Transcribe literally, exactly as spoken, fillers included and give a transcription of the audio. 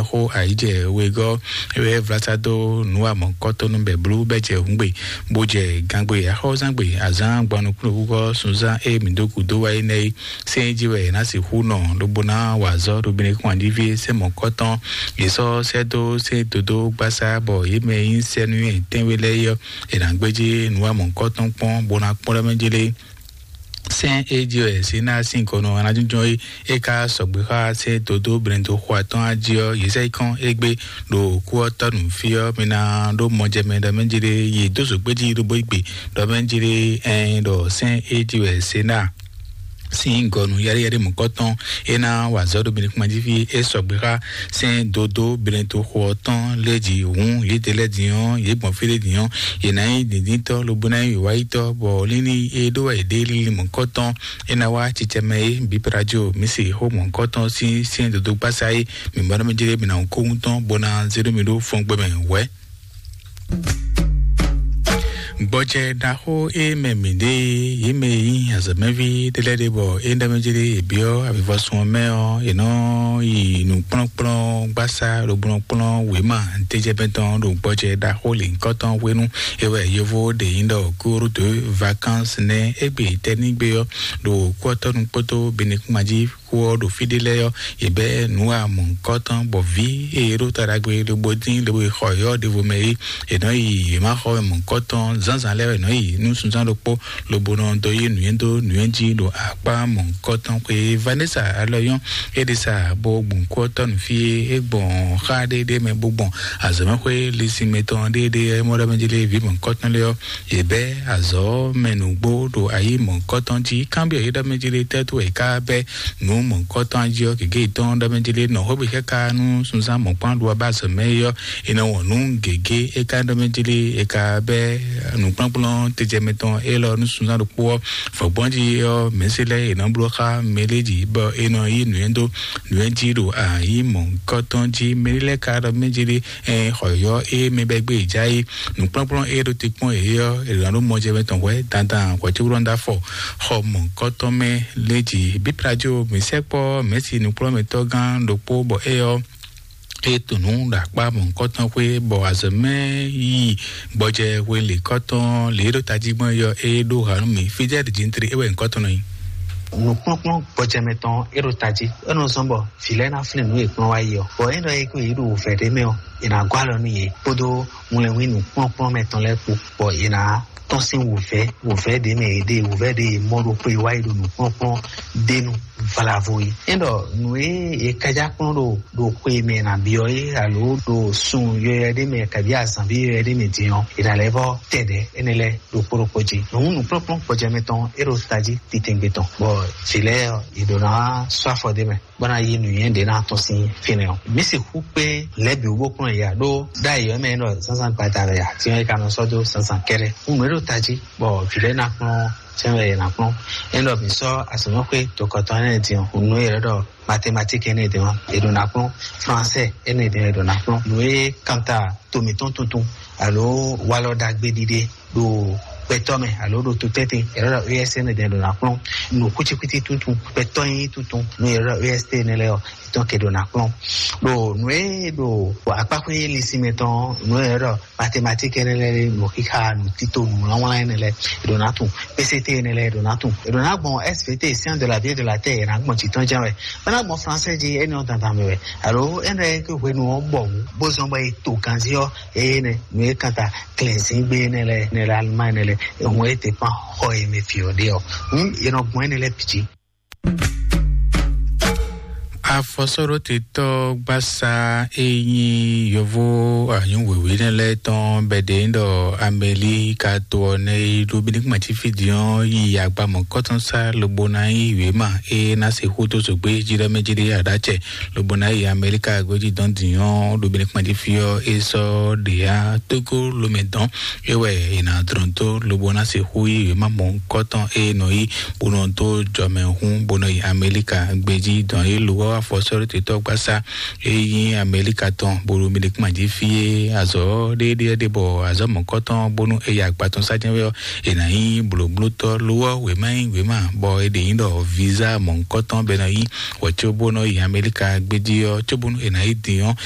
Xó ayǐjɛ wegɔ́ é wɛ vlásá dó nǔ amɔ̌kɔ́tɔ́nú bɛ̌blú bɛ́ jɛ hǔngbe, bó jɛ gangbe axɔ́zangbe azǎn gbɔnukúnukúgɔ́ sunzán e mǐ dó gǔdo wá é nɛ́ é. Sɛ́n é jí wɛ è nǎ sixú nɔ lobo ná wa azɔ̌ ɖo Benɛkúnwájíví sɛ́n mɔ̌kɔ́tɔn. Yě sɔ́ sɛ́ dó sɛ́n dodó gbásá bɔ yě mɛ e nyí sɛ́núnywɛ́ tɛ́nwe lɛ́ɛ é ɔ́, è nǎ gbéjé nǔ amɔ̌kɔ́tɔn kpɔ́n bó ná kpɔ́n ɖɔ mɛ jlé. Sɛ́n e jí wɛ Sinaa sín gɔnɔ anájúnjɔ́n é é ka sɔgbe xá sɛ́n dodó blɛndo xo atɔ́ɔ́n jí ɔ́, yě sɛ kɔn égbé ɖo kú ɔ́ tɔ́ nǔ fí ɔ́, mi ná ɖó mɔjɛmɛ ɖɔ mɛ jlé yě dó zǒgbéjí ɖo bó gbe ɖɔ mɛ jlé ɛn ɖɔ sɛ́n e jí wɛ Sinaa sín gɔnu yɛɖeyɛɖe mɔ̌kɔtɔn é ná wa azɔ̌ ɖo Benɛkúnwájíví é sɔgbe xá sɛ́n dodó blɛndo xo ɔ́ tɔn lé jí hǔn yědɛɛ lɛ́ɛ din ɔ́, yě gbɔn fí ɖé din ɔ́, yě ná nyí dǐndíntɔ́ lobo ná nyí wěwáyítɔ́, bɔ lílí e ɖó wɛ yě ɖe lílí mɔ̌kɔtɔn é ná wá cicɛ mɛ é bǐ prajo mǐ se xó mɔ̌kɔtɔn sín sɛ́n dodó gbásá é. Mǐ bɔ nɔ mɛ jlé mǐ ná kó ŋutɔ́ bó ná zé ɖó mì ɖó fɔ́ngbɛ́mɛ wɛ̌. Gbɔjɛ ɖaxó e mɛ mǐ ɖe yě mɛ e nyí azɔ̌mɛví ɖé lɛ́ɛ ɖe bɔ é ɖɔ mɛ jlé yě byɔ́ avivɔsun ɔ́ mɛ ɔ́, yě nɔ yi nǔkplɔ́nkplɔ́n gbásá lobo nɔ kplɔ́n wěma tejɛbɛn tɔn ɖo gbɔjɛ ɖaxó lěhunkɔtɔn hwenu é wɛ yovo ɖe nyí ɖɔ cours de vacances nɛ́ égbé tɛ́nígbe ɔ́ ɖo kúɔtɔ́nu kpódó Benɛkúnmají kú ɔ́ ɖo fí ɖé lɛ́ɛ ɔ́, yě bɛ́ nǔ wa mɔ̌hunkɔtɔn bɔ vǐ e ɖo ta ɖagbe lobo dín lobo yi xɔ yɔ́ ɖěvo mɛ é, è nɔ yi yě ma xɔ mɔ̌hunkɔtɔn zǎnzǎn lɛ́ɛ wɛ è nɔ yi nú sunzán ɖokpó lobo nɔ dó yí nǔnywɛ́ dó nǔnywɛ́ jí ɖo akpá mɔ̌hunkɔtɔn xwe. Vanessa alɔyɔn é ɖe sa bó gbɔn kú ɔ́ tɔ́ nǔ fí é, é gbɔn xá ɖéɖé mɛ bó gbɔn azɔ̌mɛxwé lisinmɛ tɔn ɖéɖé é mɔ ɖɔ mɛ jí lé vǐ mɔ̌hunkɔtɔn lé ɔ́, yě bɛ́ azɔ̌ mɛ nǔgbó ɖo ayǐ mɔ̌hunkɔtɔn jí. Kanbyɔ́ yě ɖɔ mɛ jí lé tɛ́ tó wɛ yě ká bɛ́ nǔ mɔ̌hunkɔtɔn jí ɔ́, gěgé yětɔn ɖɔ mɛ jí lé nɔ xwé bǐ xɛ́ ka nú sunzán mɔ̌kpán ɖu ɔ́ bá azɔ̌ mɛ é ɔ́, è nɔ wɔn nǔ gěgé é ka ɖɔ mɛ jí lé é ka bɛ́ nǔkplɔ́nkplɔ́n tejɛmɛ tɔn élɔ́ nú sunzán ɖokpó ɔ́. Vɔ̌gbɔ́n jí ɔ́, mɛ̌si lɛ́ɛ è nɔ bló xá mɛ lé jí bɔ è nɔ yí nǔnywɛ́ dó nǔnywɛ́ jí ɖo ayǐ mɔ̌hunkɔtɔn jí. Mɛ lɛ́ɛ ka ɖɔ mɛ jí lé ɛ xɔ yɔ́ é mɛ bɛ́ gbé è já yí nǔkplɔ́nkplɔ́n é ɖo te kpɔ́n yě ɔ́, è nɔ ɖó mɔjɛmɛ tɔn hwɛ̌ dandan hwɛ̌ cóbó nɔ dó afɔ xɔ mɔ̌hunkɔtɔn mɛ lé jí. Bíplajo mǐ sɛkpɔ́ mɛ̌si nǔkplɔ́nmɛtɔ́ gán ɖokpó bɔ é ɔ́ é to nǔ ɖo akpá mɔ̌hunkɔtɔn xwé bɔ azɔ̌ mɛ yi gbɔjɛ hwelěkɔtɔn lě e ɖo tají gbɔn é ɔ́, é ɖó ha nú mì. Fidɛ́li Jintre é wɛ nyǐkɔ tɔn nɔ nyí. Nǔkplɔ́nkplɔ́n gbɔjɛmɛ tɔn é ɖo tají, é nɔ zɔ́n bɔ vǐ lɛ́ɛ ná flín nǔ e kplɔ́n wá yi ɔ́. Bɔ é ɖɔ é kó yě ɖo wǔvɛ́ ɖé mɛ ɔ́, è nǎ gɔ́ alɔ nú yě kpódó ŋlɛnwí nǔkplɔ́nkplɔ́nmɛ tɔn lɛ́ɛ kpó, bɔ è nǎ tɔ́n sín wǔvɛ́, wǔvɛ́ ɖě mɛ è ɖe, wǔvɛ́ ɖě è mɔ ɖo xwe wá yi ɖo nǔkplɔ́nkplɔ́n ɖé nu valavo yi. É ɖɔ nǔ e è kájá kplɔ́n ɖo ɖo xwe mɛ è nǎ byɔ́ é alo ɖo sun yɔyɔ ɖé mɛ kabí azǎnví yɔyɔ ɖé mɛ din ɔ́, è nǎ lɛ́ vɔ́ tɛ ɖɛ̌ énɛ́ lɛ́ɛ ɖokpó ɖokpó jí. Nǔ nǔkplɔ́nkplɔ́n gbɔjɛmɛ tɔn é ɖo tají titɛngbé tɔn, bɔ vǐ lɛ́ɛ ɔ́, è ɖǒ ná sɔ́ afɔ ɖé mɛ bó ná yí nǔnywɛ́ ɖě ná tɔ́n sín fínɛ́ ɔ́. Mǐ sixú kpé lɛ̌ bǐ wú bó kplɔ́n yě ǎ, ɖó ɖ'ayǐ ɔ́ mɛ é nɔ zǎnzǎn gbada wɛ ǎ, din ɔ́ é ka nɔ sɔ́ dó zǎnzǎn kɛ́ɖɛ́. Nǔ e ɖo tají bɔ vǐ lɛ́ɛ ná kplɔ́n sɛ́n wɛ è nǎ kplɔ́n. É ɖɔ mǐ sɔ́ azɔ̌mɛxwé tokɔtɔn énɛ́ din ɔ́, nǔ e è ɖɔ mathématique énɛ́ din ɔ́, è ɖǒ ná kplɔ́n, français énɛ́ din ɔ́, è ɖǒ ná kplɔ́n. Nǔ e kanta to mǐtɔn tuntun alo walɔ ɖagbe ɖiɖe ɖo gbɛtɔ́ mɛ alo ɖo to tɛ́ntin, è ɖɔ E S énɛ́ din è ɖǒ ná kplɔ́n. Nǔ kwítíkwítí tuntun, gbɛtɔ́ nyí tuntun, nǔ e è ɖɔ E S T énɛ́ lɛ́ɛ ɔ́, è tɔ́n ke ɖǒ ná kplɔ́n. Ɖo nǔ e ɖo akpáxwé lisinmɛ tɔn ɔ́, nǔ e è ɖɔ mathématique énɛ́ lɛ́ɛ, nǔ xixa, nǔ tito, nǔ wlánwlán énɛ́ lɛ́ɛ, è ɖǒ ná tunwun. P C T énɛ́ lɛ́ɛ è ɖǒ ná tunwun. È ɖǒ ná gbɔn S V T, science de la vie et de la terre, è nǎ gbɔn jǐ tɔn jɛ́n wɛ. É ná gbɔn français jí, énɛ́ ɔ́ dandan mɛ wɛ. Alo énɛ́ e ké hwenu ɔ́ bɔ wǔ, bó zɔ́n bɔ è to ganzí ɔ́, eye nɛ nǔ e kanta klɛ̌nzíngbe énɛ́ lɛ́ɛ, énɛ́ lɛ́ɛ Allemagne énɛ́ lɛ́ɛ, è hun é dépend xɔ e mɛ vǐ ɔ́ ɖe ɔ́. Hǔn è nɔ gbɔn énɛ́ lɛ́ɛ bǐ jí. Afɔsɔ́ɖótetɔ́ gbásá e nyí yovo anyǔ wěwé nɛ́ lɛ́ɛ tɔn bɛ́ ɖe ɖɔ Amɛlika to ɔ́ nɛ́ yi ɖó bíníkúmatífí din ɔ́ yi agba mɔ̌kɔtɔn sá lobo ná yí wěma e ná se xú dó zǒgbé jí ɖɔ mɛ jí ɖé aɖácɛ lobo ná yi Amɛlika gbéjí dɔn din ɔ́ ɖo bíníkúmatífí ɔ́ é sɔ́ ɖě yá Tógó lomɛ dɔn é wɛ è nǎ dlɔ́n dó lobo ná se xú yí wěma mɔ̌kɔtɔn e nɔ yí bó nɔ dó jɔmɛ hún bó nɔ yi Amɛlika gbéjí dɔn é lo wá afɔsɔ́ɖótetɔ́ gbásá e nyí Amɛlika tɔn bó ɖo Mɛlikúma jí fí é azɔ̌ ɖéɖé ɖé bɔ azɔ̌ mɔ̌kɔtɔn bónú é yi agba tɔn sá jɛ́n wɛ ɔ́, è nǎ nyí blǒblótɔ́ lo ɔ́ wěma nyí wěma bɔ è ɖě nyí ɖɔ visa mɔ̌kɔtɔn bɔ è nɔ yí wɛ có bó nɔ yi Amɛlika gbéjí ɔ́, có bónú è nǎ yi din ɔ́,